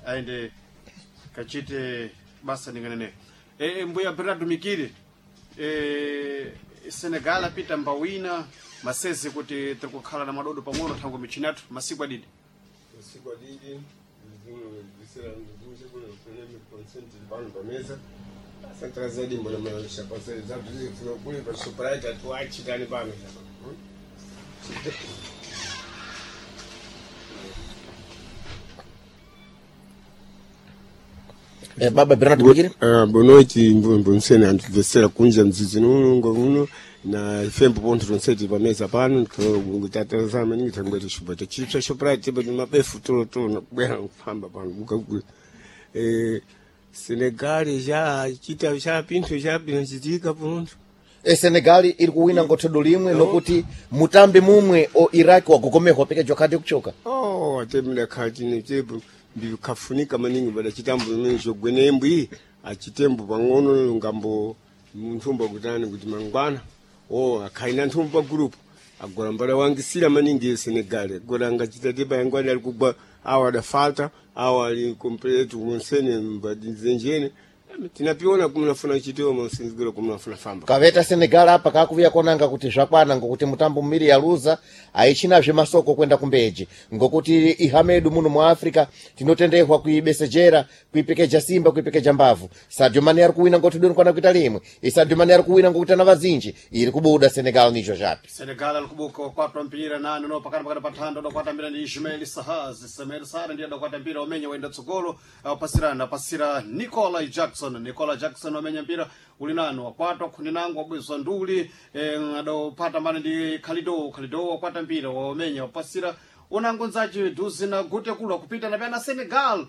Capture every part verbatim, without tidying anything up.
Aende kachite basa ninganene. E, mbuya Bernardo Mikiri e, Senegal apita mbawina masezi kuti tiri kukhala na madodo pang'ono thango michini yathu masiku adidi. Masiku adidi visera ndikuze kuno kwenye consent pano pameza santara zaidi mbona maisha kwa sababu za tuzi kule kwa Shoprite tuachi tani pano Eh, baba Bernard Mikiri. Uh, bonoiti mbonsene antuvesera kunja mzizi nuno ngovuno na ifembo ponto tonseti pameza pano tatazama maningi tangwete shupa tachipsa Shoprite pa mabefu tolo tolo nakubwera kufamba pano buka ku eh Senegal ja chita cha pinthu cha pinachitika ponto E Senegal iri kuwina ngothodo limwe nokuti mutambi mumwe o Iraq wagogomehwa pekejwa khadi kuchoka. Oh, atemela khati netepo ndikafunika maningi bada chitambo mene gwenembwi achitembo pang'ono ngambo nthumba kutani kuti mangwana oh akhaina nthumba group agora mbala wangisira maningi Senegal agora angachita tipa yangwani ali kugwa awa adafalta awa ali complete monsene mbadinzenjene tinapiona kumnafuna chitewa monsenzigiro kumnafuna famba Kaveta Senegal apa kakuvuya konanga kuti zvakwana ngokuti mutambo mmiri yaluza aichinazve masoko kwenda kumbeji ngokuti ihamedu muno mu Africa tinotendehwa kuibesejera kuipekeja simba kuipekeja mbavu. Sadio Mane ari kuwina ngoti doni kwana kuita limwe e Sadio Mane ari kuwina ngokuti ana vazinji iri kubuda Senegal nicho zvapi. Senegal alikubuka kwatwa mpira nani no pakati pakati pathando dokwata mpira ndi Ismail Sahaz Ismail Sahar ndiye dokwata mpira umenya waenda tsogolo apasirana apasira Nicola Jackson Nicola Jackson wamenya mpira uli nanu wakwatwa khuni nangu wabwezwa nduli eh, adopata mane ndi Khalido Khalido wakwata mpira waumenya wapasira unango nzachi duzi na gute kulwa kupita na pena Senegal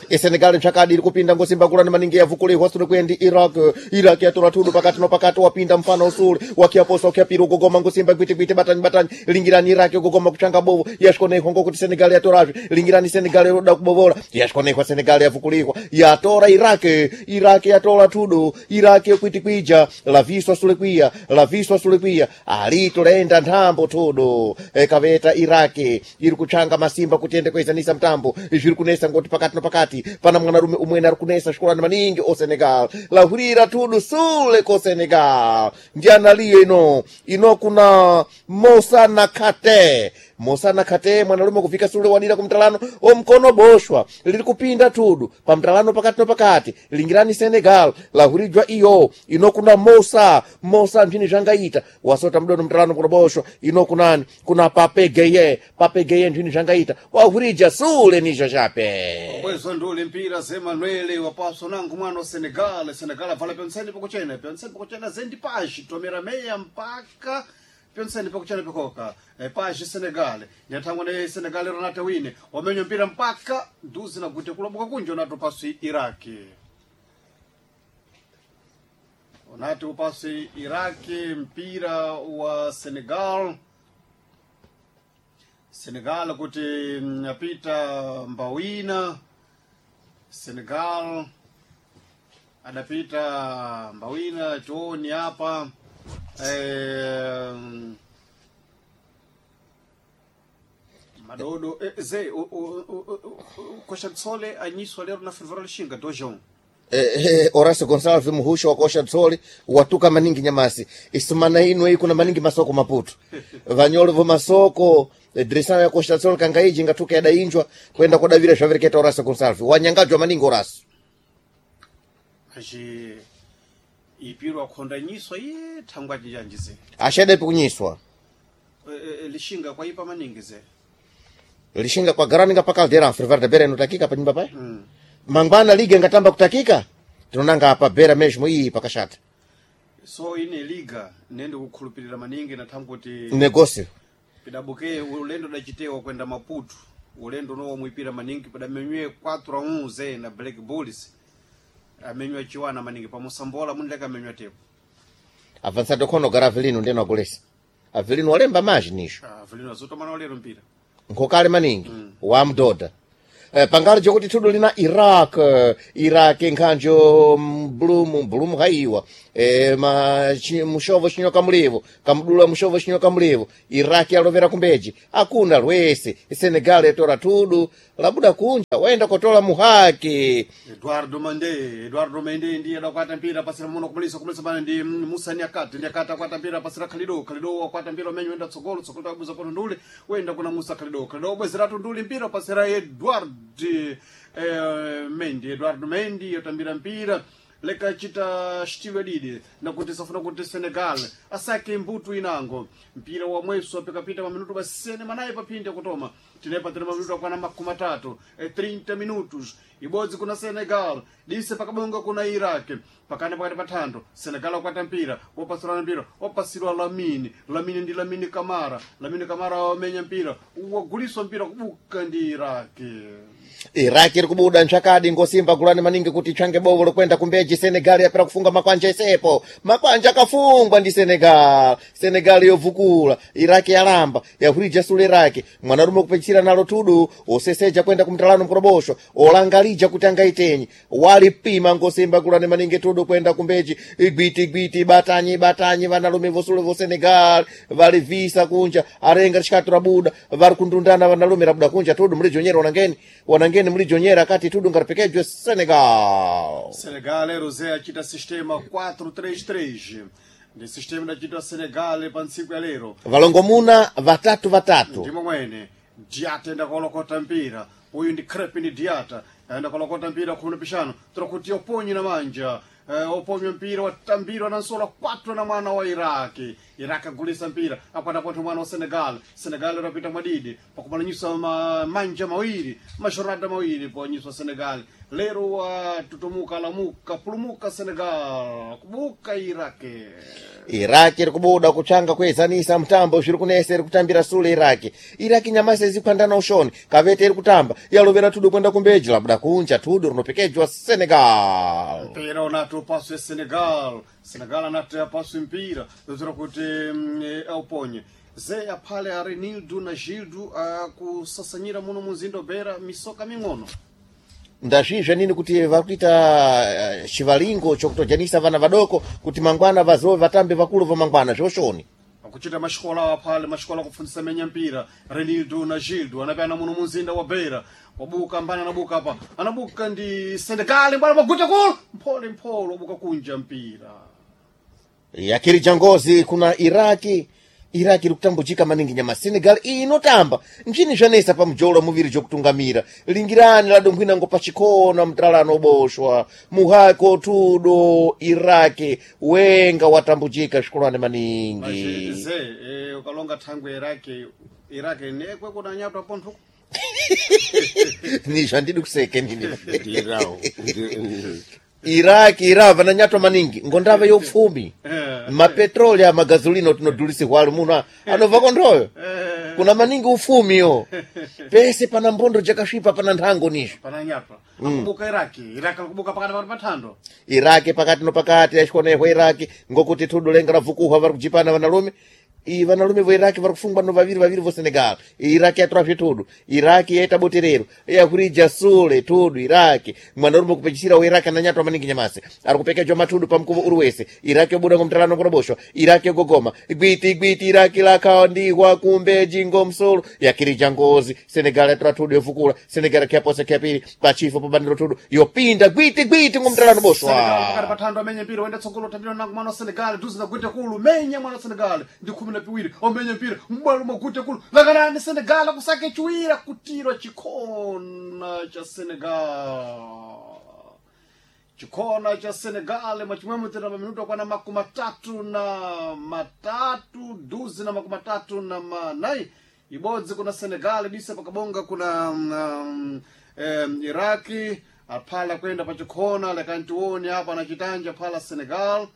E Senegal mchakadi iri kupinda ngosimba kulani maningi yavukulihwa sule kwendi Iraq Iraq yatora thudu pakati no pakati wapinda mfano usule wakiaposa wakiapira ugogoma ngosimba gwiti batani batani lingirani Iraq ugogoma kuchanga bovu yashikonehwa ngokuti Senegal yatorazve lingirani Senegal yoda kubovola yashikonehwa Senegal yavukulihwa yatora Iraq Iraq yatora thudu Iraq yokwiti kwija laviswa sule kwiya laviswa sule kwiya alito laenda nthambo thudu e, kaveta Iraq iri kuchanga masimba kuti ende kuizanisa mtambo zviri kunesa ngoti pakati no pakati pana mwanarume umwene ari kunesa svikolani maningi o Senegal lahurira tudu sule ko Senegal ndianaliyo ino ino kuna Moussa Nakate Moussa Nakate mwanarume kufika sule wadira kumtalano o mkono boshwa liri kupinda tudu pamtalano pakati no pakati lingirani Senegal lahurijwa iyo ino kuna Moussa Moussa mphini zvangaita wasota mdono mtalano kuno boshwa ino kunani kuna Pape Gueye Pape Gueye mphini zvangaita wahurija sule nicho chape bwezo nduli mpira zemanuele wapaso nangu mwana wa Senegal Senegal avala pyonseni pakuchena pyonseni pakuchena zendi paji tomera meya mpaka pyonseni pakuchena pakoka e, paji Senegal nyathangwa ne Senegal Ronaldo wine wamenya mpira mpaka nduzi na gute kuloboka kunja unato pasi Iraki unati upasi Iraki mpira wa Senegal Senegal kuti mm, apita mbawina Senegal adapita mbawina chooni hapa eh, madodo eh, ze kosha tsole anyiswa lero na Fervora Lishinga dojon Eh, eh, Horacio Gonçalves muhusha wakosha tsoli watuka maningi nyamasi isumana ino iyi kuna maningi masoko maputu vanyolo vo masoko eh, dirisana ya kosha tsoli kangaiji ngatuka yadainjwa kwenda kodavira zvavereketa Horacio Gonçalves wanyangajwa maningi Horacio achi ipirwa khonda nyiswa iye thangwa jijanjize ashadepi kunyiswa eh, eh, Lishinga kwaipa maningi ze lishinga kwa garaninga pa caldeira Fervora da Beira inotakika pa nyumba paya mm. mangwana liga ingatamba kutakika tinonanga apa Beira mesmo iyi pakashata so ine liga nende kukhulupirira maningi na thangu kuti negócio pidabuke ulendo dachitewa kwenda Maputo ulendo unowo mwipira maningi padamenywe quatro a um ze na Black Bulls amenywa chiwana maningi pamusambola mundileka amenywa tepo avançado khono gara avelino ndeno agolesa avelino walemba maji nisho ah, Avelino azotomana walero mpira nkhokale maningi mm. wamdoda Eh, pangalo jokuti thudo lina Iraq eh, Iraq nkhanjo mbulumu mbulumu haiwa eh, ma chi, mushovo chinyoka mulivo kamdula mushovo chinyoka mulivo Iraq yalovera kumbeji akuna lwese Senegal yatora thudu labuda kunja Waenda kotola muhaki. Eduardo Mende, Eduardo Mende ndiye adakwata mpira pasira muno kumulisa kumulisa bana ndi Musa Nyakati, Nyakati akwata mpira pasira Khalido, Khalido akwata mpira umenyo wenda tsogolo, tsogolo tabuza pono nduli, wenda kuna Musa Khalido, Khalido bwezeratu nduli mpira pasira Eduardo eh, Mendy, Eduardo Mendy yotambira mpira leka chita xitiwe didi nakuti safuna kuti Senegal asake mbutu inango mpira wa mweso apikapita maminuto basene manayi paphindi akutoma tinepatira maminuto akwana makumi atatu e trinta minutos ibodzi kuna Senegal dise pakabonga kuna Iraq pakana pakati pathando Senegal akwata mpira wapasulana mpira wapasilwa Lamini Lamini ndi Lamini Kamara Lamini Kamara wamenya mpira waguliswa mpira kubuka ndi Iraq. Iraki iri kubuda ntsvakadi ngosimba gulani maningi kuti tsvange bovo lokwenda kumbeji. Senegal yapera kufunga makwanja esepo, makwanja akafungwa ndi Senegal. Senegal yovukula, Iraki yalamba yahurija sule Iraki mwanarume kupechera nalo tudu oseseja kwenda kumtalano mkorobosho olangalija kuti angaitenyi walipima ngosimba gulani maningi tudu kwenda kumbeji igwiti igwiti batanyi batanyi vanalume vosule vo Senegal valivisa kunja arenga rishikatu rabuda vari kundundana vanalume rabuda kunja tudu mulijonyera wanangeni wanangeni mulijonyera akati tudu ngaripekejwe Senegal. Senegal Rosé achita sistema quatro três três ndi sistema idachitwa Senegal pa ntsiku ya lero. Valongomuna vatatu vatatu. Ndimo mwene Diata enda kolokota mpira uyu ndi Crepin Diata aenda kolokota mpira khumi na pixano tora kuti oponye na manja eh, oponywa mpira watambirwa na nsola kwatwa na mwana wa Iraki. Iraki agulisa mpira akwata pontho mwana wa Senegal. Senegal rapita mwadidi pakumalanyisa ma, manja mawiri mashorada mawiri ponyiswa Senegal lero watutumuka lamuka pulumuka Senegal kubuka Iraki. Iraki iri kubuda kutsvanga kuezanisa mutambo zviri kunesa iri kutambira sule Iraki. Iraki nyamasi izikwandana ushoni kavete iri kutamba yalovera tudu kwenda kumbeji labuda kunja tudu rinopekejwa Senegal. Mpira unati upaswe Senegal. Senegal anati apaswe mpira zozera kuti mm, eh, auponye ze aphale Arenildo na Gildo akusasanyira muno muzinda Beira misoka ming'ono. Ndazvizve nini kuti vari kuita eh, chivalingo chokutojanisa vana vadoko kuti mangwana vazove vatambe vakulu va mangwana zvoshoni. Akuchita maxikola aphale maxikola akufundisa menya mpira Renildo na Gildo anapyana muno muzinda wa Beira wabuka mbani anabuka apa anabuka ndi Senegal mbwana maguta kulu mphole mphole wabuka kunja mpira. Yakirija ngozi kuna Iraki. Iraki iri kutambujika maningi nyama Senegal iyi inotamba nchini zvanesa pamujolo muviri jokutungamira lingirani ladonkhwina ngo pachikona mtalano oboshwa muhako tudo Iraki wenga watambujika svikolwane maningi. Maze eh, ukalonga thangwe Iraki Iraki nekwe kunanyatwa pontho. Ni zvandidi kuseke nini. Ndirawo Ndi- Iraki irava nanyatwa maningi ngondava yopfumi mapetroli amagazolino tinodhulisihwa muno anobva kondhoyo kuna maningi ufumiyo pese pana mbondo jakasvipa pana nthango nizvo. Pananyatwa akubuka Iraki Iraki akubuka pakati pakati pathando. Iraki pakati no pakati yachionehwa Iraki ngokuti thudu lenga ravukuhwa vari kujipana vanalume iyi vanalume vo Iraki vari kufungwa no vaviri vaviri vo Senegal. Iraki yatora zvetudu Iraki yaita boterero yakurija sule tudu Iraki mwanarume kupechisira wa Iraki ananyatwa maningi nyamasi ari kupekejwa matudu pamukuvo uri wese. Iraki yobuda ngomtalano kuroboshwa Iraki yogogoma gwiti gwiti Iraki lakandihwa kumbeji ngomsolo yakirija ngozi Senegal yatora tudu yovukula Senegal kyaposa kyapiri pachifo pabaniro tudu yopinda gwiti gwiti ngomtalano boshwa. Senegal pakati pathando amenye mpira wenda tsogolo tambira nangu mwana wa Senegal duzi na gwite kulu menya mwana wa Senegal ndi khumi na piwiri omenye mpira mbwalo magwite kulu lakanani Senegal akusake chiwira kutirwa chikhona cha Senegal chikhona cha Senegal machimwemwe tena maminuto akwana makumi matatu na matatu duzi na makumi matatu na manai ibodzi kuna Senegal disa pakabonga kuna um, um, Iraki aphala kwenda pachikhona lekantione apa na chitanja phala Senegal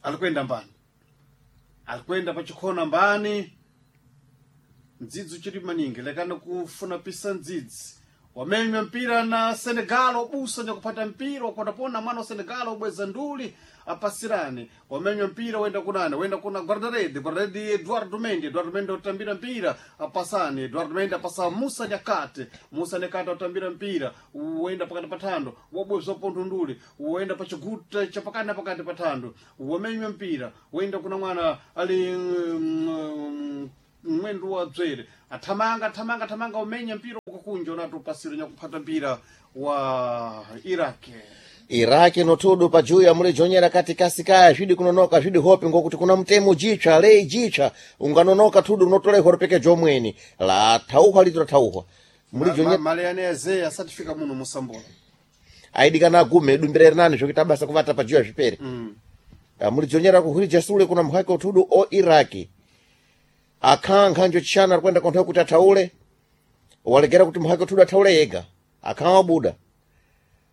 alikwenda mbani alikwenda pachikhona mbani mdzidzi uchiri maningi lekana kufuna pisa mdzidzi wamenywa mpira na Senegal obusa nyakupata mpira wakwatapona mwana wa Senegal obweza nduli apasirane wamenywa mpira wenda kunane wenda kuna guardarede guardarede Eduardo Mendy Eduardo Mendy otambira mpira apasane Eduardo Mendy apasa Musa Nyakate Musa Nyakate otambira mpira wenda pakati pathando wabweza pontho nduli wenda pachiguta chapakati na pakati pathando wamenywa mpira wenda kuna mwana ali mm, mwendo wa dzwere athamanga athamanga athamanga umenya mpira ukakunja unati upasire nyakuphata mpira wa Iraq. Iraki notudu pajuya mulijonyera katikasi kaya zvidi kunonoka zvidi hope ngokuti kuna mutemo jitsva lei jitsva unganonoka tudu unotolehwa rupekejo omweni la thauhwa lito lathauhwa mulijonyera Maleyane azeya asatifika muno musambola aidikana agume dumbira rinani zvokuita basa kuvata pajuya zvipere mm. Ah, mulijonyera kuhwirija sule kuna mhaki utudu o Iraki akhaa nkhanjo chishana ari kuenda konthawe kuti athaule walegera kuti muhaki utudu athaule yega akhaa wabuda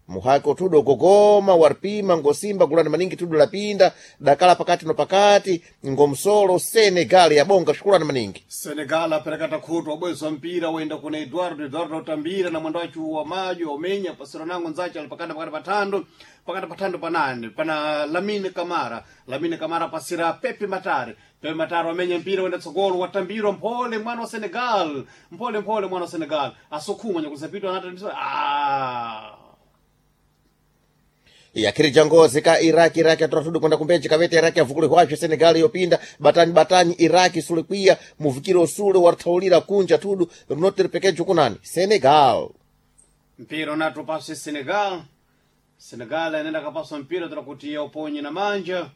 muhaki utudu ugogoma waripima ngosimba gulani maningi tudu lapinda dakala pakati no pakati ngomsolo Senegal yabonga shukulani maningi. Senegal aperekata khutu wabwezwa mpira wenda kuna Eduardo. Eduardo utambira na mwendo wachu wa maji wamenya pasiro nango nzache ali pakati pakati pathando pakati pathando panane pana Lamine Kamara. Lamine Kamara pasira Pepe Matare. Pepe Matare wamenya mpira wenda tsogolo watambirwa mphole mwana wa Senegal mphole mphole mwana wa Senegal asukhuma nyakusapitwa anatandiswa ah yakhirija ngozi ka Iraki. Iraki atora tudu kwenda kumbeji kavete Iraki avukule hwazvo Senegal yopinda batanyi batanyi Iraki sulikwiya muvukiro usule warthaulira kunja tudu rinotiripekejo kunani Senegal. Mpira unati upaswe Senegal. Senegal anaenda kapaswa mpira tira kuti uponye na manja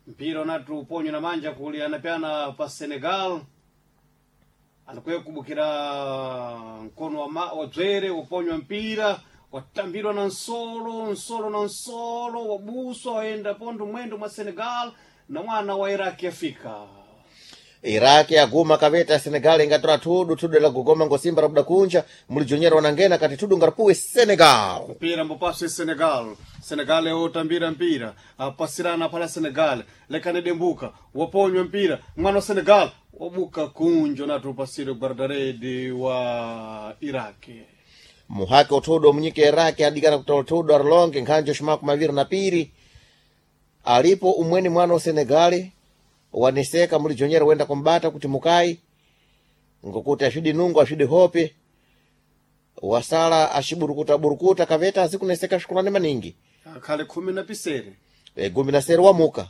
mpira unati uponye na manja kuli anapeana pa Senegal alikuye kubukira mkono wa, ma, wa dzwere uponywa mpira watambirwa na nsolo nsolo na nsolo wabuswa waenda pondo mwendo mwa Senegal na mwana wa Iraki afika. Iraki aguma kaveta Senegal ingatora tudu tudu la gogoma ngosimba rabuda kunja mulijonyera wanangena kati tudu ngarapuwe Senegal. Mpira mbopaswe Senegal. Senegal yotambira mpira apasirana pala Senegal lekane dembuka waponywa mpira mwana wa Senegal wabuka kunjo natupasire guardaredi wa Iraki. Muhaki utudu munyike Iraki adikana kutola tudu arlonge nkhanjo shimaku maviri na piri alipo umweni mwana wa Senegali waneseka mulijonyera wenda kumbata kuti mukai ngokuti ashidi nungu ashidi hope wasala ashiburukuta burukuta kaveta azikuneseka shukulani maningi. Akhale khumi na pisere. E, gumi na sere wamuka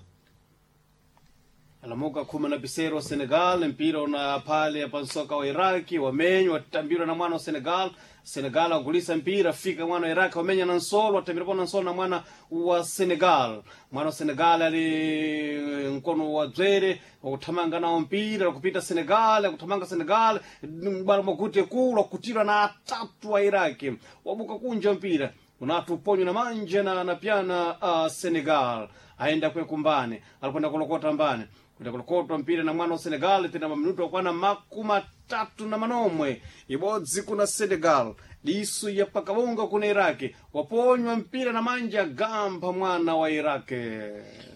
Alamuka khumi na pisere wa Senegal mpira una pale pansoka wa Iraki wamenywa watambirwa na mwana wa Senegal. Senegal agulisa mpira fika mwana wa Iraki wamenya na nsolo watambirwa na nsolo na mwana wa Senegal. Mwana wa Senegal ali mkono wa dzwere wakuthamanga nawo mpira kupita Senegal akuthamanga Senegal mbala mwakute kulu akutirwa na atatu wa Iraki wabuka kunja mpira unatu uponywa na manja na anapyana uh, Senegal aenda kwe kumbane alikwenda kulokota mbane kwenda kulokotwa mpira na mwana wa Senegal tena maminuto akwana makumi atatu na manomwe ibodzi kuna Senegal disu ya pakabonga kuna Iraki waponywa mpira na manja gamba mwana wa Iraki.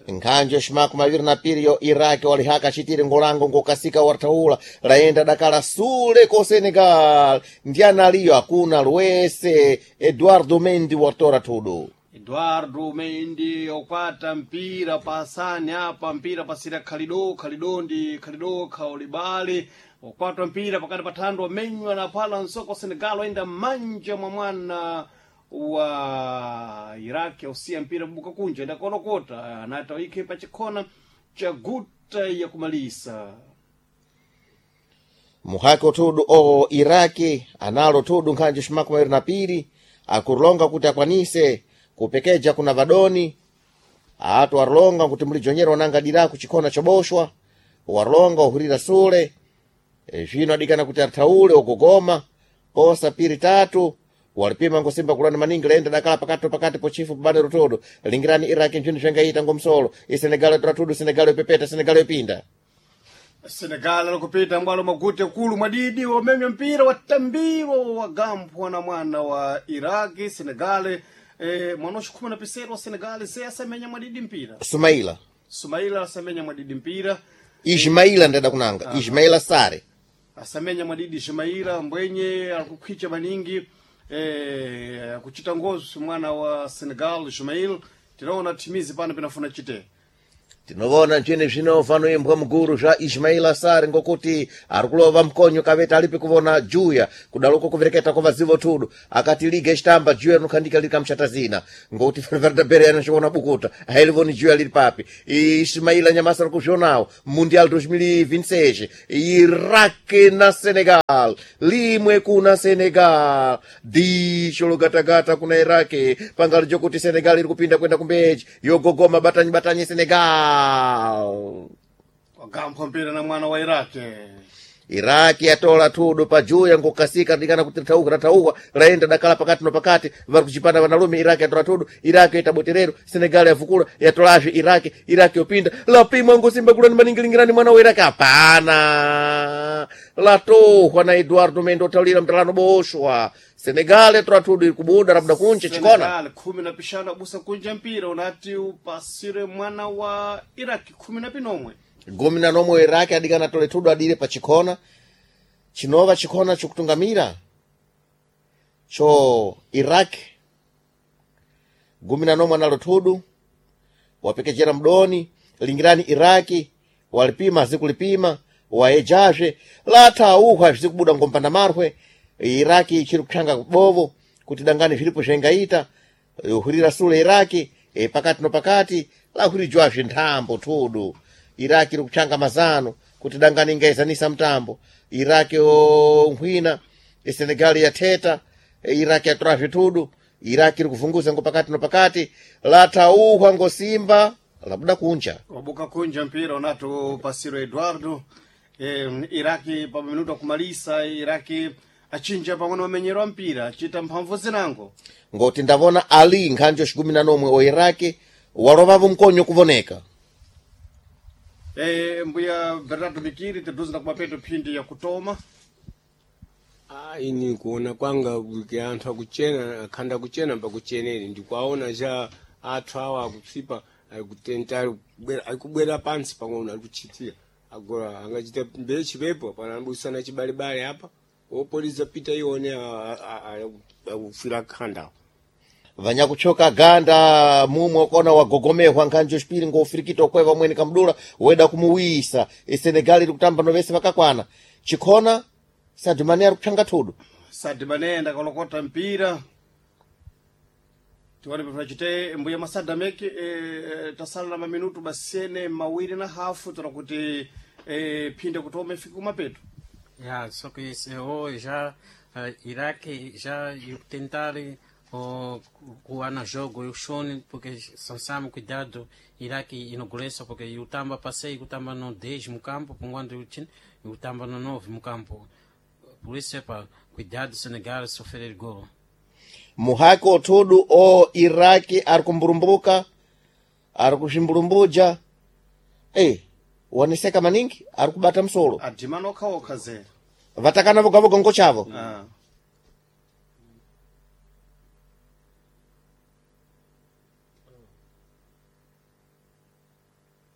Nkhanjo shimaku maviri na piri yo Iraki walihaka chitiri ngolango ngokasika warthaula laenda dakala sule ko Senegal ndiana aliyo akuna luwese Eduardo Mendy watora tudu. Eduardo Mendy okwata mpira pasani apa mpira pasira Khalido Khalido ndi Khalido Khaulibali okwatwa mpira pakati pa thando wamenywa na pala nsoko Senegal waenda manja mwa mwana wa Iraki ausiya mpira buka kunja enda kolokota anata wikhe pachikhona cha guta ya kumalisa. Muhaki utudu o Iraki analo tudu nkhanjo shimaku maviri na piri akulonga kuti akwanise kupekeja kuna vadoni atu warlonga kuti mulijonyera wananga diraku chikhona choboshwa warlonga uhurira sule. E, zvino adikana kuti athaule ugogoma posa piri tatu walipima ngosimba kulani maningi laenda dakala pakati pakati pochifu pabade rutudu lingirani Iraki nchini zvengaita ngomsolo isenegal tora Senegal yopepeta Senegal yopinda. Senegal alikupita mbwalo magute kulu mwadidi wamemya mpira watambiwa wagambwa na mwana wa Iraki Senegal eh, mwana wa khumi na pisero wa Senegal se asamenya mwadidi mpira Sumaila Sumaila asamenya mwadidi mpira Ismaila ndada kunanga Ismaila Sare asamenya mwadidi Ismaila mbwenye alikukhwicha maningi eh, kuchita ngozi mwana wa Senegal Ismail tinaona timizi pano pinafuna chite. Tinovona ncini zvino fanoimbwa muguru zva Ismail Asari ngokuti ari kulova mkonyo kaveta alipi kuvona juya kudaloko kuvereketa kwa vazivo tudu akati liga icitamba juya rinokhandika liri kamchata zina ngokuti Ferverda Bere anachiona bukuta hailivoni juya liri papi. Ismaila nyamasa ari kuzvionawo Mundial dois mil e vinte e seis, Iraq na Senegal, limwe kuna Senegal, dicho logatagata kuna Iraq pangalo jokuti Senegal iri kupinda kwenda kumbeji yogogoma batanyi batanyi Senegal. Wagampha mpira na mwana wa Iraki. Iraki yatola thudu pajuya ngokasika ndikana kuti thauka rathauka laenda dakala pakati no pakati vari kuchipanda vanalume. Iraki yatola thudu, Iraki yaita boterero, Senegal yavukula yatolazve Iraki. Iraki yopinda lapimwa ngosimba kulani maningilingirani mwana wa Iraki hapana latohwa na Eduardo Mendo taulira mtalano boshwa. Senegal yatola thudu iri kubuda labuda kunche chikona. Senegal khumi na pixanu abusa kunja mpira unati upasire mwana wa Iraki khumi na pinomwe. Gumi na nomwe Iraki adikana tole thudu adire pa chikhona chinova chikhona chokutungamira cho Iraq. Gumi na nomwe analo thudu wapekechera mdoni lingirani Iraki walipima azikulipima waejazve latauhwa zvizikubuda ngompanda marwe. Iraki ichiri kuphanga kubovo kuti dangani zviripo zvengaita hurira sule Iraki e, pakati no pakati lahurijwazve nthambo thudu. Iraki iri kupshanga mazano kuti dangani ingaizanisa mtambo. Iraki onkhwina Senegal yatheta, Iraki yatora zvithudu. Iraki iri kuvunguza ngo pakati no pakati lathauhwa ngosimba labuda kunja. Wabuka kunja mpira unati upasire Eduardo. eh, Iraki pa minuto akumalisa Iraki achinja pamwe wamenyero wa mpira achita mphamvu zinango. Ngoti ndavona Ali nkhanjo xikumi na nomwe o Iraki walovavo mkonyo kuvoneka. Eh, mbuya Bernardo Mikiri tiduze na kumapeto phindi ya kutoma. Ah, ini kuona kwanga kuti anthu akuchena akhanda kuchena pakucheneri ndikuaona cha athu awa akutsipa akutenta akubwera- akubwera pansi pang'ono akuchitira agora angachita mbechipepo pana ambusana chibalebale apa opoliza pita ione akufira khandawo. Vanyakuchoka ganda mumwe kona wagogomehwa nkhanjo xipiri ngofirikita okweva mwene kamdula weda kumuwisa. Senegal iri kutamba novese vakakwana chikhona Sadio Mane ari kupshanga thudu. Sadio Mane ndakalokota mpira tione pafuna mbuya masadameki eh, tasala na maminutu basene mawiri na hafu tona kuti eh, phindi ya kutoma ifike kumapeto. Yeah, só que isso, eu já uh, Iraque já eu tentar o o jogo eu shone porque são sabe cuidado Iraque inauguração porque eu tamba passei eu tamba no dez no campo quando eu tinha eu tamba no nove no campo, por isso é para cuidado Senegal sofrer gol. Muhaki othudu o Iraki ari kumburumbuka ari kuximburumbuja e waneseka maningi ari kubata msolo. Adhimana okhaokha zera. Vatakana vogavoga ngochavo. Ah.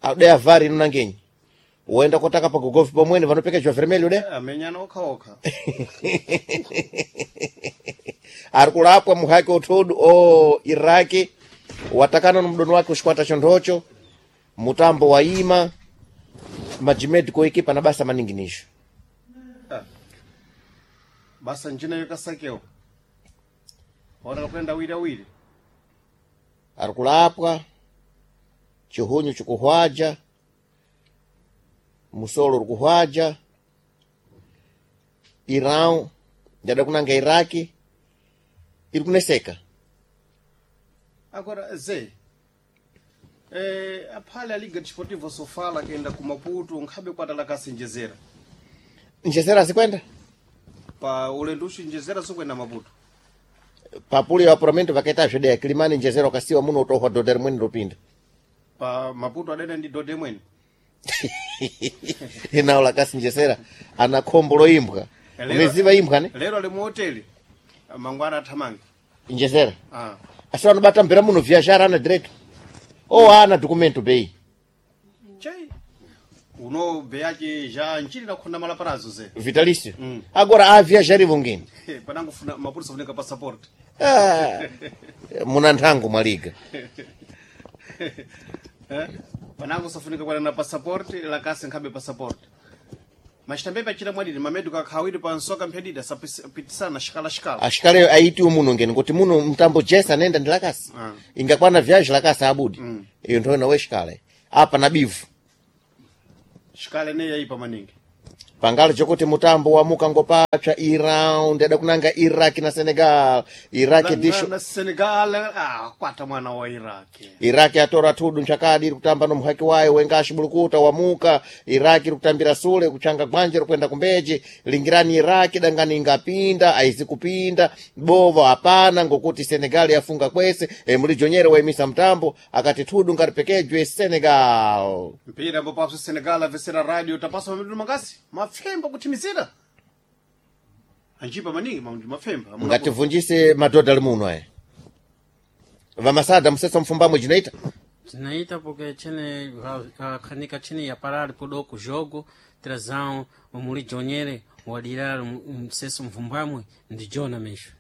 Adeya vari inonangenyi woenda kotaka pagogofi pomwene vanopekejwa vermelho de. Amenyana okhaokha. Ari kulapwa muhaki othudu o Iraki watakana no mdono wake uxikwata chondhocho mutambo waima majimediko ekipa na basa maningi nisho. Ah. Basa njina yokasakewo ona kwenda awiri awiri. Ari kulapwa chihunyu chikuhwaja musolo uri kuhwaja Irão njada kunanga Iraki iri kuneseka. Agora ze eh, aphale a Liga Desportiva Sofala kenda ku Maputo nkhabe kwatala kasenjezera. Njezera zikwenda Pa ulendo uxinjezera sokwenda Maputo. Papuli ya apuramento vakaita zvedeya Kilimani njezera ukasiwa muno utohwa dhodha rimweni ropinda. Pa Maputo adena ndi dhodha imweni. Inawo lakasinjezera ana khombo loimbwa. Lero- Uneziva imbwa ne lero ali mu hoteli mangwana athamange. Njezera ah. asi vanobata mpira muno viajar ana direto o ana documento bei. Chai uno beyache ja nchini nakhona malaparazo ze. Vitalicio Mm. agora a viajarivo ngeni. Panangofuna Maputo sofunika passport. Ah, muna nthango mwaliga. Eh? Panango safunika kwenda na pasaport lakasi nkhabe pasaport. Machitambepe achita mwadidi mameduka akhawiri pa nsoka mphedida sapitisana xikala xikala. Ashikale aiti umuno ngeni kuti muno mtambo jesa anenda ndi lakasi. Ah. Ingakwana viaji lakasi abudi. Iyo ntho nawe xikale. Apa na bivu. Xikala ineyi yayipa maningi. Pangalo chokuti mutambo wamuka ngopapsa iround adakunanga Iraq na Senegal. Iraq Na, disho na, na Senegal ah kwata mwana wa Iraq. Iraki atora thudu nchakadi iri kutamba no muhaki wayo wengashi bulukuta wamuka. Iraki iri kutambira sule kuchanga gwanje kwenda kumbeji. Lingirani Iraki dangani ingapinda aizi kupinda bovo hapana ngokuti Senegal yafunga kwese. E, mulijonyere waimisa mtambo akati thudu ngaripekejwe Senegal. Mpira ambapo paso Senegal avesera radio tapasa mamindudu mangasi mafemba kuthimizira. Anjipa maningi mamindudu mafemba. Amuna Ngativunjise madhodha ali muno aya vamasada musesa mfumbamwe jinoita Zinaita porque chene akhanika chene yaparali podoko jogo trazão mulijonyere wadira mseso mvumbamwe ndi jona mesho.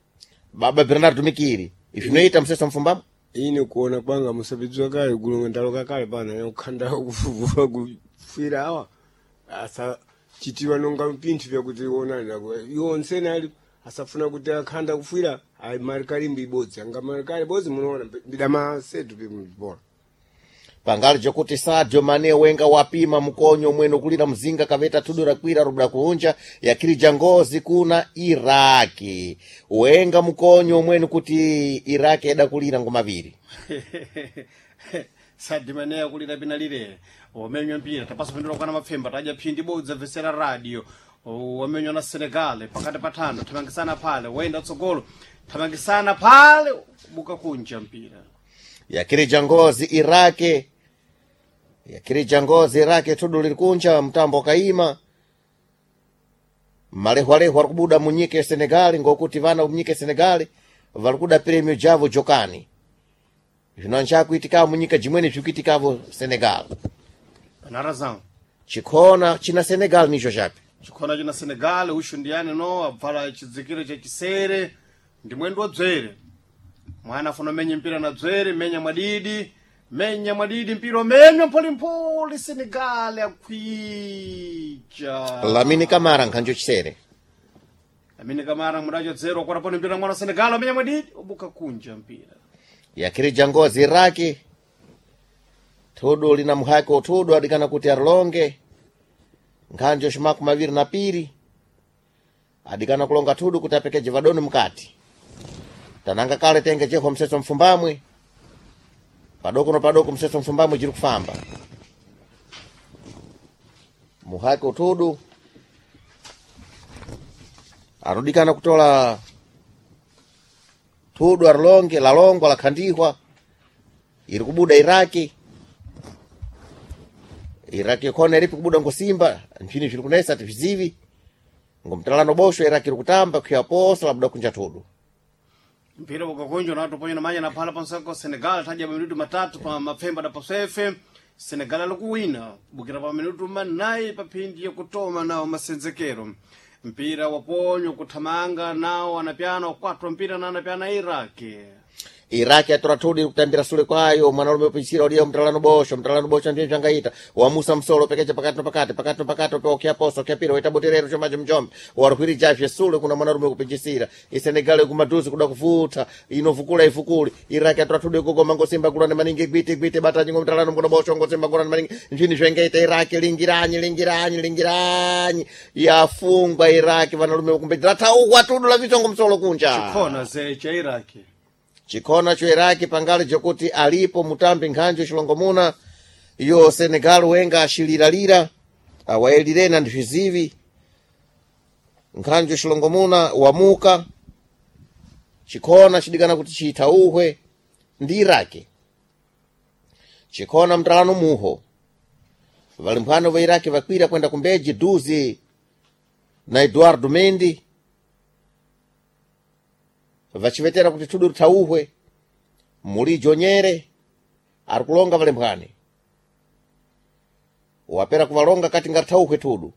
Baba Bernardo Mikiri zvinoita musesa mfumbamwe. Ine kuona kwanga musabidzwa kale kulonga ndaloka kale pana kukhanda kufuvua kufira awa asa chitiwa nonga mpinthu vyakuti onani iwo nsene ali asafuna kuti akhanda kufira ayi marikali mbibodzi anga marikali bodzi munoona mbidamasetu pimbola. Pangali chokuti Sadio Mane wenga wapima mkonyo mwene kulira mzinga kaveta thudu rakwira rubda kuunja yakirija ngozi kuna Iraki wenga mkonyo mwene kuti Iraki eda kulira ngomaviri. Sadimaneya kulira pina lile wamenywa mpira tapasa pindula kwana mapfemba tadya phindi bodza vesera radio wamenywa na Senegal pakati pathano thamangisana phale wayenda tsogolo thamangisana phale buka kunja mpira. Yakirija ngozi Iraki yakirija ngozi Iraki thudu liri kunja mtambo kaima malehwalehwa ari kubuda munyika ya Senegali ngokuti vana munyika ya Senegali vari kuda premio javo jokani zvino nchakuitikavo munyika jimweni zvikuitikavo Senegal. Pana razão. Chikhona china Senegal nicho chapi. Chikhona china Senegal ushu ndiyani no abvala chidzikiro chachisere ndi mwendo wa dzwere. Mwana afuna menye mpira na dzwere menya mwadidi menya mwadidi mpira umenywa mpholimpholi Senegal akhwija. Lamine Kamara nkhanjo chisere. Lamine Kamara mudacho dzero akwataponi mpira mwana wa Senegal amenya mwadidi ubuka kunja mpira. Yakirija ngozi Iraki thudu lina muhaki uthudu adikana kuti arilonge nkhanjo ximaku maviri na piri adikana kulonga thudu kuti apekeje vadoni mukati tananga kale tenge chekho mseso mfumbamwe padoko no padoko mseso mfumbamwe jiri kufamba muhaki uthudu arudikana kutola thudu arilonge lalongwa lakhandihwa iri kubuda Iraki. Iraki khona iripi kubuda ngosimba nchini zviri kunesa tizvizivi ngomtalano bosho Iraki iri kutamba kuyaposa labuda kunja thudu. Mpira ukakunjwa na watu ponya manya na phala pansako Senegal taja minutu matatu pa mapfemba da paswefe Senegal alikuwina bukira pa minutu manayi pa phindi yakutoma nawo masenzekero mpira waponywa kuthamanga nawo anapyana ukwatwa mpira na anapyana Iraki. Iraki atora thudu iri kutambira sule kwayo mwanalume upichira uliya mtalano bosho mtalano bosho ndiye zvangaita wamusa msolo pekecha pakati no pakati pakati no pakati opewa ukiaposa ukiapira waita boterero chomacho mchombe warihwirijazve sule kuna mwanarume kupichisira isenegal kumadhuzi kuda kuvuta inovukula ivukuli Iraki atora thudu ikugoma ngosimba kulani maningi gwiti gwiti batanyi ngomtalano mkono bosho ngosimba kulani maningi nzvini zvengaita Iraki lingiranyi lingiranyi lingiranyi yafungwa Iraki vanarume kumbedzera taukwa thudu la vichongo msolo kunja Chikhona ze cha Iraki. Chikhona cho Iraki pangali chokuti alipo mutambi nkhanjo chilongomuna iyo Senegal wenga ashiliralira awayelirena ndi vizivi nkhanjo chilongomuna wamuka chikhona chidikana kuti chithauhwe ndi Iraki. Chikhona mtalano muho valimphwano va Iraki vakwira kwenda kumbeji duzi na Eduardo Mendy vachivetera kuti thudu lithauhwe mulijo nyere ari kulonga valemphwani wapera kuvalonga kati ngatithauhwe thudu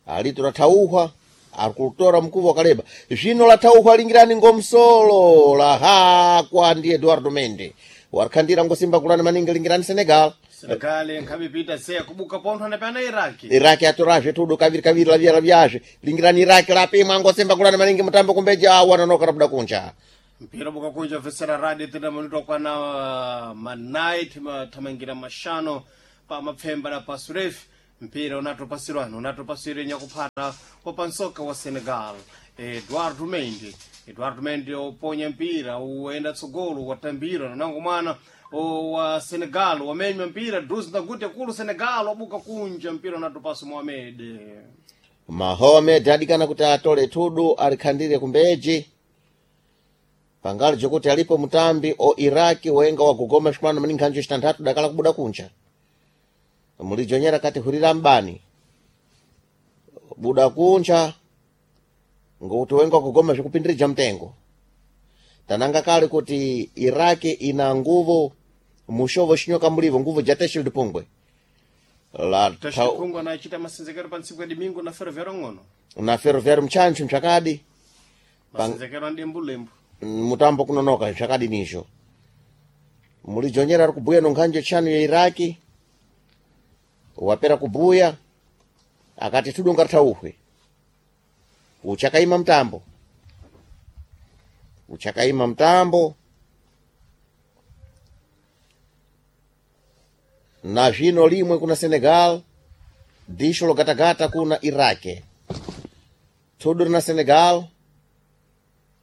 alitu lathauhwa ari kutora mkuva wakaleba zvino lathauhwa lingirani ngomsolo lahakwa ndi Eduardo Mende Warikhandira ngosimba kulani maningi lingirani Senegal. Senegal nkhamipita seya kubuka pontho anapyana Iraki. Iraki atorazve tudo kaviri kaviri lavia lavyazve lingirani Iraki lapimwa ngosimba kulani maningi mutambo kumbeja wanonoka rabuda kunja. Mpira buka kunja vesera radio tena minuto kwana manai thamangira mashano pa mapfemba na pasurefi mpira unatopasirwano unatopasire nyakuphata wa pansoka wa Senegal Eduardo Mendy. Eduardo Mendy oponya mpira uenda tsogolo watambira nanango mwana o wa Senegal wamenywa mpira duzi nakuti akulu Senegal wabuka kunja mpira unatopasa Mohamed. Mahomed adikana kuti atole tudu alikhandire kumbeji pangali jokuti alipo mutambi o Iraki wenga wagogoma shikwano maningi hanjo chitanthatu dakala kubuda kunja mulijonyera kati hurira mbani buda kunja ngokuti wenga wagogoma zvikupindirija mtengo tananga kale kuti Iraki ina nguvu mushovo xinyoka mulivo nguvu ja Teshild Pungwe la Tashipungu anachita masenzekero pa ntsiku ya domingo na ferroviário ng'ono na ferroviário mchancho mchakadi masenzekero a ndembulembu mutambo kunonoka zvakadi nizvo mulijonyera ari kubhuya nonkhanjo chanu ya Iraki wapera kubhuya akati tudunga tauhwe uchakaima mtambo uchakaima mtambo na zvino limwe kuna Senegal disho logatagata kuna Iraki tudu rina Senegal.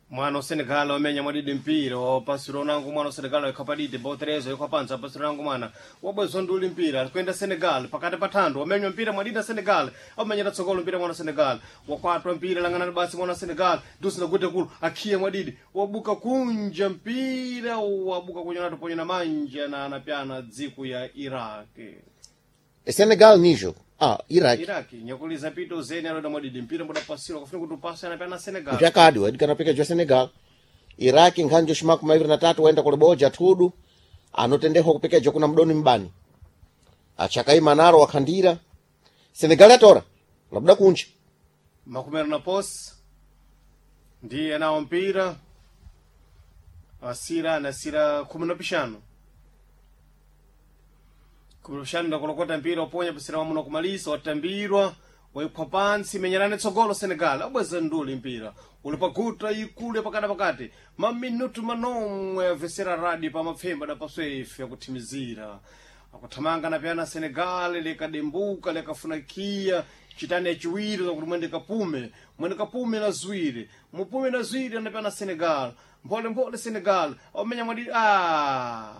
Mwana wa Senegal wamenya mwadidi mpira wapasira unangu mwana wa Senegal wekhapadidi boterezo yekhapanza apasira unangu mwana wabwezwa nduli mpira alikwenda Senegal pakati pa thando wamenywa mpira mwadidi na Senegal aumenyera tsogolo mpira mwana wa Senegal wakwatwa mpira lang'anani basi mwana wa Senegal dusi nakuti kulu akhiye mwadidi wabuka kunja mpira wabuka kunja natoponya na manja na anapyana dziko ya Iraq. Senegal nizvo ah, Iraki Iraq nyakuliza pito zeni aloda mwadidi mpira mbodapasira kafuna kuti upasa anapyana Senegal zvakadi waidikana pikeja Senegal Iraki nkhanjo shimaku maviri na tatu waenda kuliboja thudu anotendehwa kupikeja kuna mdoni mbani achakaima naro wakhandira Senegal yatora labuda kunja makumero na posi ndiye anawo mpira asira anasira khumi na pixanu khumi na pixanu ndakulokota mpira oponya pasira wamuno kumalisa watambirwa waiphwa pansi menyerani tsogolo Senegal abweza nduli mpira uli paguta ikulu yapakati pakati maminutu manomwe avesera radi pa mapfemba dapaswefe akuthimizira akuthamanga napyana Senegal likadembuka likafunakia chitani yachiwiri zakuti mwende kapume mwende kapume na ziwiri mupume na ziwiri anapyana Senegal mpholemphole Senegal amenya mwadidi ah.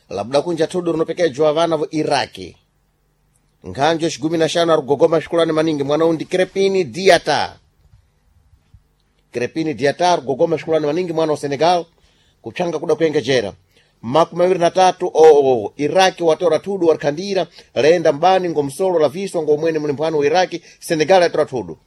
labuda kunja thudu rinopekejwa vana vo Iraki nkhanjo xigumi na xanu arigogoma xikulani maningi mwana undi Crepini Diata Crepini Diata arigogoma xikulani maningi mwana wa Senegal kupshanga kuda kuengejera makumi mawiri na tatu oo oh, Iraki watora thudu warikhandira laenda mbani ngomsolo laviswa ngomwene mlimbwano wa Iraki Senegal yatora thudu.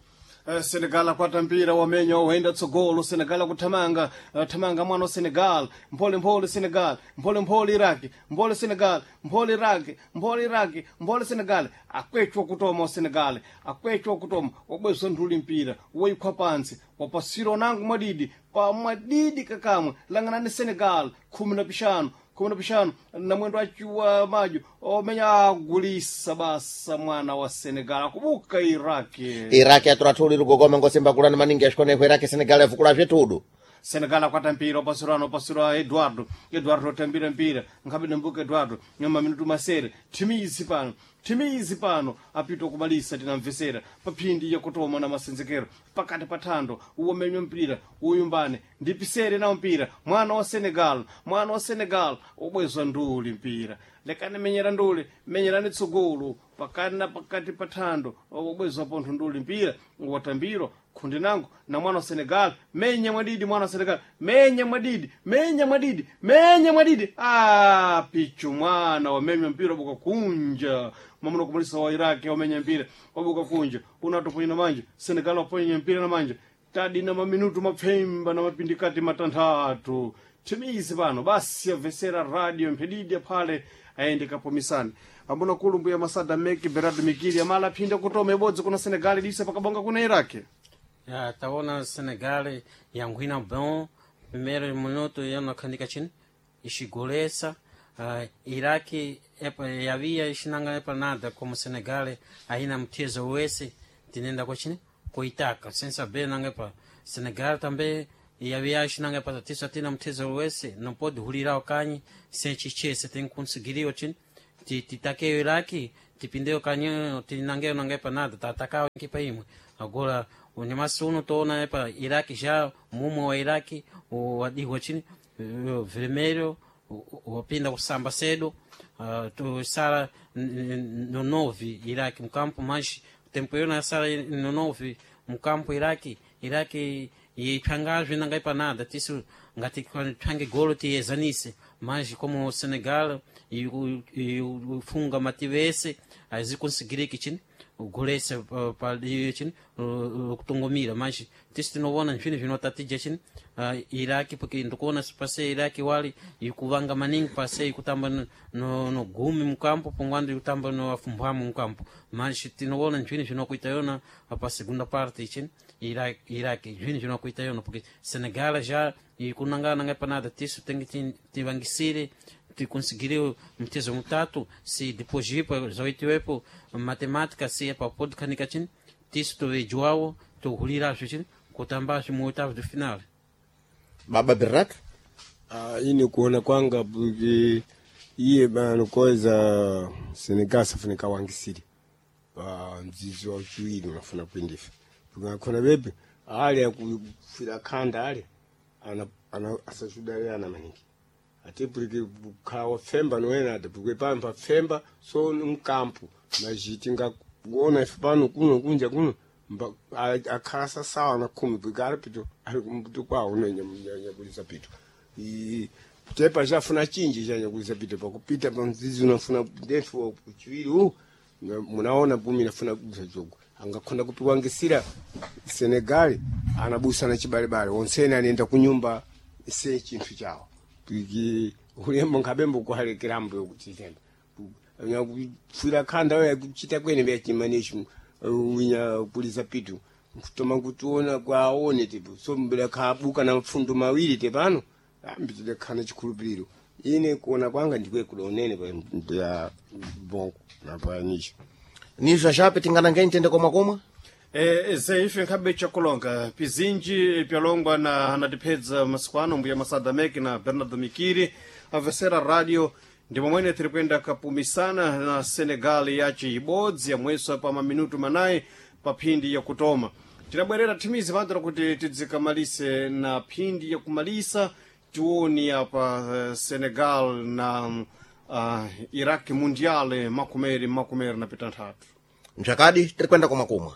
Eh, Senegal akwata mpira wamenya waenda tsogolo Senegal akuthamanga eh, thamanga mwana wa Senegal mphole mphole Senegal mphole mphole Iraki mphole Senegal mphole Iraki mphole Iraki mphole Senegal akwechwa kutoma wa Senegal akwechwa kutoma wabwezwa nthuli mpira woikhwa pansi wapasira onango mwadidi pa mwadidi kakamwe lang'anani Senegal khumi na pixanu khumi na pixanu na mwendo achiwa majo omenya agulisa basa mwana wa Senegal akubuka Iraki. Iraki yatora thudu irigogoma ngosimba kulani maningi yaxikoneho Iraki Senegal yavukula thudu. Senegal akwata mpira opasirano opasirwa Eduardo Eduardo otambira mpira nkhabe mbuka Eduardo nyama minutu masere thimizi pano thimizi pano apita kumalisa tinamvesera paphindi yakutoma na masenzekero pakati pa thando uwomenywa mpira uyumbane ndipisere nawo mpira mwana wa Senegal mwana wa Senegal ubwezwa nduli mpira lekani menyera nduli menyerani tsogolo pakati na pakati pa thando ubwezwa pontho nduli mpira watambirwa khundi nango na mwana wa Senegal menya mwadidi mwana wa Senegal menya mwadidi menya mwadidi menya mwadidi ah pichu mwana wamenya mpira wabuka kunja mamuna kumalisa wa Iraki wamenya mpira wabuka kunja unatoponya na manja Senegal waponya mpira na manja tadi na maminutu mapfemba na mapindikati matanthatu timizi pano basi yavesera radio mphedidi aphale aende kapomisani ambona kulu mbuya masada meki berardo mikili amala aphinda kutoma ibodzi kuna Senegal disa pakabonga kuna Iraki. Ya, taona Senegal yanguina bom primeiro minuto eu não khandika chini ixigolesa. Uh, Iraki epa yavia ixinanga epa nada como Senegal aina mchezo wese tinenda kochini koitaka sem saber nanga epa Senegal também yavia ixinanga epa tiso atina mchezo wese não pode hulirar o kanyi sem chichese tem que conseguir o chini ti titake Iraki tipindeo kanyi tinangeo nanga epa nada tatakao equipa imwe agora unyamasi uno toona epa Iraki já mumo wa Iraki wadiwa chini eh, vermelho wapinda kusamba cedo, uh, tu sala no nove Iraque mukampo, mas tempo eu na sala no nove mukampo Iraque Iraque ipangazwe nangaipa nada tisu ngati twange golo tiyezanise, mas como o Senegal ifunga mativese azikonsigiriki chini golese pali chini kutongomira, mas tisu tinovona nfini vinotatija chini uh, Iraki porque ndikuona pase Iraki wali ikuvanga maningi pase ikutamba no, no, no gumi mukampo pongwando ikutamba no afumbwamu mukampo, mas tinoona nfini vinokuita yona pa segunda parte chini Iraki Iraki nfini vinokuita yona porque Senegal já ikunangana nanga panada tisu tem que tivangisire ticonseguir mtezo mutatu se depois ipo zoitiwepo matemática se é para pode kanika chini tisu tuvejuawo tuhulira chini kutamba mu oitavo de final. Baba Bernardo. Ah, ine kuona kwanga porque iye bano koza Senegal safunika wangisiri pa mzizi wa uchiwiri unafuna kuendefa porque bebe ale akufira khanda ale ana ana asachudale ana maningi ate porque khawa femba noena ate porque pampa femba so mkampo majiti nga kuona ife pano kuno kunja kuno mba akhala sasawa na khumi porque ali pito ali kumbuto kwawo nonyakulisa pito I- tepa chafuna chinji chanyakulisa pito pakupita pa mzizi unafuna ndefu uchiwiri u na- munaona pumi nafuna kubusa jogo angakhonda kupiwangisira Senegal anabusa na chibalebale onsene anenda kunyumba se chinthu chawo piki ulembo nkhabembo kuhalekerambo yokuchitenda nyakufira khanda we kuchita kwene vyachimanishu winya kulisa pitu kutoma kutiona kwaone tipo so mbela khabuka na mafundo mawiri tepano ambitile khana chikhulupiriro ine kuona kwanga ndikwe kulonene pa ya bongo napanisha Nizva jape tinganange ntende komwe komwe. E, zeife nkhabe chakulonga pizinji pyalongwa na anatiphedza masiku ano mbuya Masada Meki na Bernardo Mikiri amvesera radio ndi momwene tiri kuyenda kapumisana na Senegal yaci ibodzi yamweso pa maminutu manayi pa phindi yakutoma tinabwerera thimizi padra kuti tidzikamalise na phindi yakumalisa tioni apa eh, Senegal na uh, Iraq Mundial makumeri makumeri na pitanthatu. Mchakadi tiri kwenda komwe komwe.